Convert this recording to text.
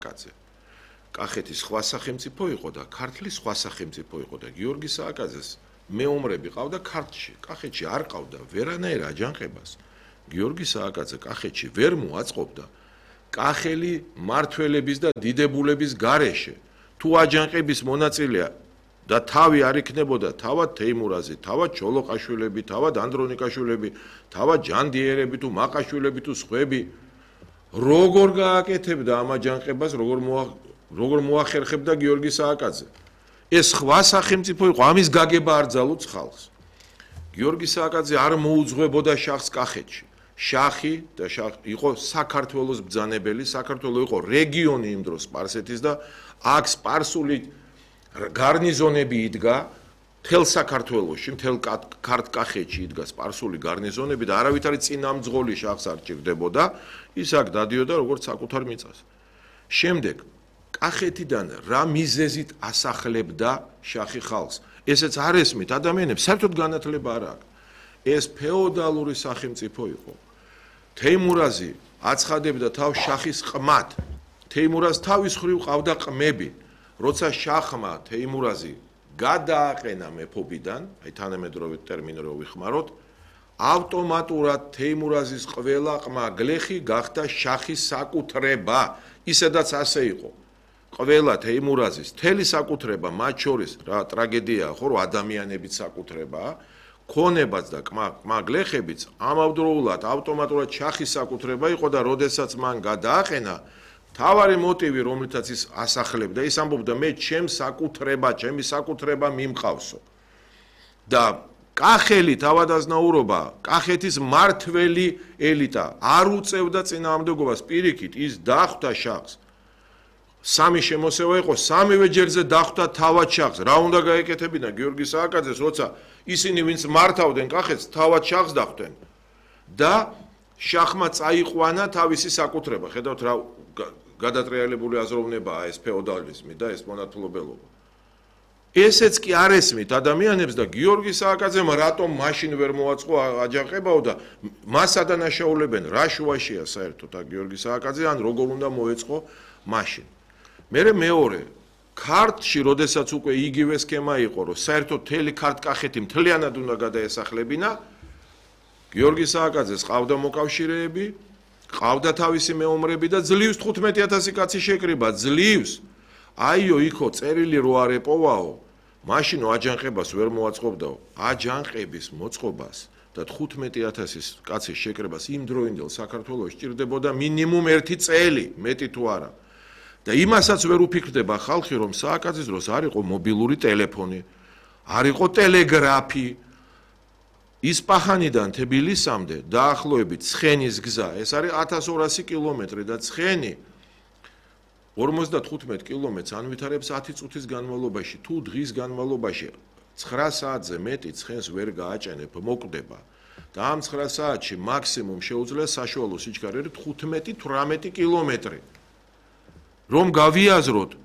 კაცი. კახეთის სხვა სახელმწიფო იყო და ქართლის სხვა სახელმწიფო იყო და გიორგი სააკაძეს მეომრები ყავდა ქართლში. კახეთში არ ყავდა ვერანაირ აჯანყებას. გიორგი სააკაძე კახეთში ვერ მოაწყობდა კახელი მართველების და დიდებულების გარეშე. თუ აჯანყების მონაწილეა და თავი არ იქნებოდა თავად თეიმურაზი, თავად ჩოლოყაშვილები, თავად ანდრონიკაშვილები, თავად ჯანდიერები თუ მაყაშვილები თუ სხვები როგორ გააკეთებდა ამ აჯანყებას, როგორ მოახერხებდა გიორგი სააკაძე. ეს სხვა სახელმწიფო იყო, ამის გაგება არ ძალუց ხალხს. გიორგი სააკაძე არ მოუძღვებოდა შახს კახეთში. შახი და იყო საქართველოს ბრძანებელი, საქართველო იყო რეგიონი იმ დროს სპარსეთის და აქ სპარსული გარნიზონები იდგა მთელ საქართველოში, მთელ ქართკახეთში იდგა სპარსული გარნიზონები და არავითარი წინამძღოლი შახს არ ჭირდებოდა, ის აქ დადიოდა როგორც საკუთარ მიწას. შემდეგ კახეთიდან რა მიზეზით ასახლებდა შახი ხალხს? ესეც არ ესმით ადამიანებს, საერთოდ განათლება არ აქვს. ეს ფეოდალური სახელმწიფო იყო. თეიმურაზი აცხადებდა თავს შახის ყმად. თეიმურაზ თავის მხრივ ყავდა ყმები. როცა შახმა თეიმურაზი გადააყენა მეფობიდან, აი თანამედროვე ტერმინი რო ვიხმაროთ, ავტომატურად თეიმურაზის ყველა ყმა გლეხი გახდა შახის საკუთრება. ისედაც ასე იყო. ყველა თეიმურაზის მთელი საკუთრება, მათ შორის რა ტრაგედიაა, ხო, რომ ადამიანების საკუთრებაა, ქონებაც და ყმა გლეხებიც ამავდროულად ავტომატურად შახის საკუთრება იყო და როდესაც მან გადააყენა თავარი მოტივი, რომლითაც ის ასახლებდა, ის ამბობდა მე ჩემს საკუთრება, ჩემი საკუთრება მიმყავსო. და კახელი თავადაზნაურობა, კახეთის მართველი ელიტა არ უწევდა წინააღმდეგობას, პირიქით ის დახვდა შახს. სამი შემოსევა იყო, სამივე ჯერზე დახვდა თავად შახს. რა უნდა გაეკეთებინა გიორგი სააკაძეს, როცა ისინი ვინც მართავდნენ კახეთს, თავად შახს დახვდნენ. და შახმა წაიყვანა თავისი საკუთრება. ხედავთ რა გადატრიალებული აზროვნებაა ეს ფეოდალიზმი და ეს მონათლობელობა. ესეც კი არ ესმით ადამიანებს და გიორგი სააკაძემ რატომ მაშინ ვერ მოაწყო აჯანყებაო და მას ადანაშაულებენ რა შუაშია საერთოდ გიორგი სააკაძე ან როგორ უნდა მოეწყო მაშინ. მერე მეორე ქართლში როდესაც უკვე იგივე სქემა იყო რომ საერთოდ მთელი ქართკახეთი მთლიანად უნდა გადაესახლებინა გიორგი სააკაძეს ყავდა მოკავშირეები ყავდა თავისი მეომრები და ძლივს 15000 კაცი შეკრიბა ძლივს აიო იქო წერილი რო არ ეპოვაო მაშინ აჯანყებას ვერ მოაწყობდაო აჯანყების მოწყობას და 15000 კაცის შეკრებას იმ დროინდელ საქართველოს ჭირდებოდა მინიმუმ 1 წელი მეტი თუ არა და იმასაც ვერ უფიქრდება ხალხი რომ სააკაძის დროს არ იყო მობილური ტელეფონი არ იყო ტელეგრაფი ისპაჰანიდან თბილისამდე დაახლოებით ცხენის გზა ეს არის 1200 კილომეტრი და ცხენი 55 კილომეტრს ანვითარებს 10 წუთის განმავლობაში თუ დღის განმავლობაში 9 საათზე მეტი ცხენს ვერ გააჭენებ მოკვდება და ამ 9 საათში მაქსიმუმ შეუძლია საშუალო სიჩქარე 15-18 კილომეტრი რომ გავიაზროთ